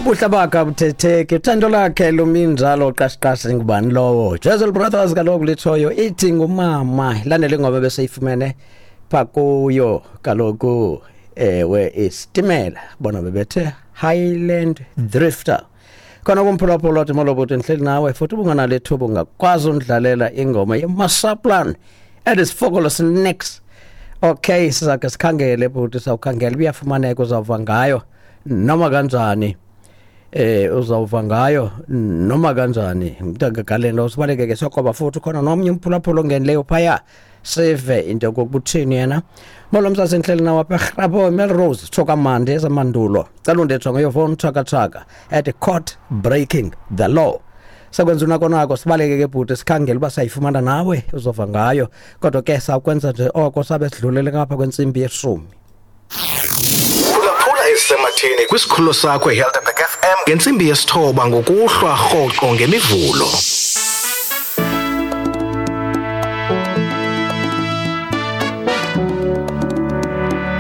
Ubuhle bakhe abuthetheki, uthando lakhe luminjalo qashiqashi. Ngubani lowo? Jezel Brothers kaloku litshoyo ithi ngumama. Ilandele ingoma beseyifumene pha kuyo kaloku, ewe, isitimela bona bebethe Highland Drifter. Khona kumphulaphula wathi molo bhuti, ndihleli nawe futhi ubunganalo ithuba ungakwazi undlalela ingoma yeMasaplan edisifokolo sinex. Okay, sizake sikhangele bhuti, sawukhangela, uyafumaneka, uzawuva ngayo noma kanjani. Uzawuva ngayo noma kanjani mntangagalelo. Sibaleke ke sokoba futhi khona nomnye umphulaphula ongenileyo phaya, sive into yokokuba uthini yena. Molo msase, ndihleli nawo apha eRhapo, Melrose, tsho kamandi ezamandulo. Cela undetsho ngeyofowuni thakathaka at court breaking the law. Sakwenza unako nako, sibaleke ke bhuti, sikhangele uba sayifumana nawe uzova ngayo, kodwa ke sawukwenza nje oko sabe sidlulele ngapha kwentsimbi yeshumi. Phulaphula ezisematheni kwisikhululo sakho iHelderberg FM ngentsimbi yesithoba ngokuhlwa rhoqo ngeMivulo.